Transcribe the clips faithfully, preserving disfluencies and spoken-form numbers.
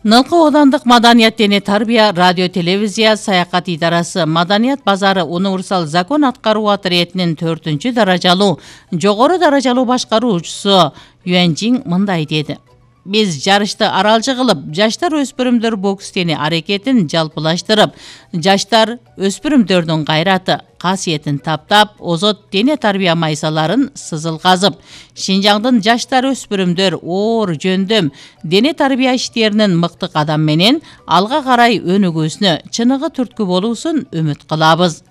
Нылкы Оодандык Маданият дене тарбия радио телевизия саякат идарасы Маданият базары универсал закон аткаруу отрядынын төртүнчү даражалуу жогору даражалуу башкаруучусу Юанжин мындай деди. Биз жарышты аралжы кылып, жаштар өспүрүмдөр бокс дене аракетин жалпылаштырып, жаштар өспүрүмдөрдүн кайраты, касиетин таптап, озот дене тарбия майсаларын сызыл казып, Шинжаңдын жаштар өспүрүмдөр оор жөндөм дене тарбия иштеринин мыкты кадам менен алга карай өнүгүүсүнө чыныгы түрткү болуусун үмүт кылабыз.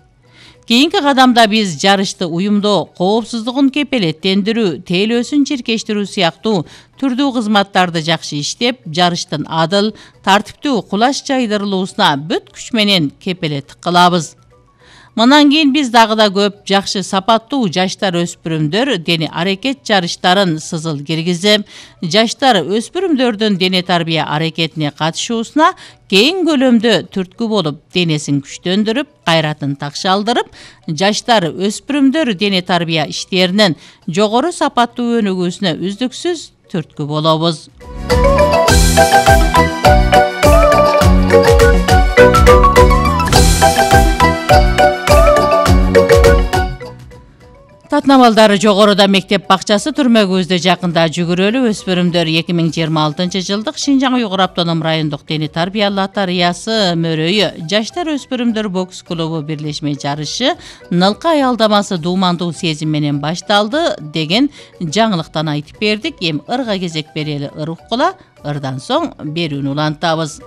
Кийинки кадамда биз жарышты уюмдоо, коопсуздугун кепелеттендирүү, тейлөөсүн чиркештирүү сыяктуу түрдүү кызматтарды жакшы иштеп, жарыштын адыл, тартиптүү кулаш жайдырылуусуна бүт күч менен кепелеттик кылабыз. Мындан кийин биз дагы да көп жакшы сапаттуу жаштар өспүрүмдөр дене аракет жарыштарын сызыл киргизип, жаштар өспүрүмдөрдүн дене тарбия аракетине катышуусуна кең көлөмдө түрткү болуп, денесин күчтөндүрүп, кайратын такшалдырып, жаштар өспүрүмдөр дене тарбия иштеринин жогору сапаттуу өнүгүүсүнө үздүксүз түрткү болобуз. Татнамалдары жогоруда мектеп бакчасы түрмөгүбүздө жакында жүгүрөлүү өспүрүмдөр эки миң жыйырма алтынчы жылдык Шинжаң Уйгур автоном райондук дене тарбия лотереясы мөрөйү жаштар өспүрүмдөр бокс клубу бирлешме жарышы Нылкы аялдамасы дуумандуу сезим менен башталды деген жаңылыктан айтып бердик. Эми ырга кезек берели ыр уккула, ырдан соң берүүнү улантабыз.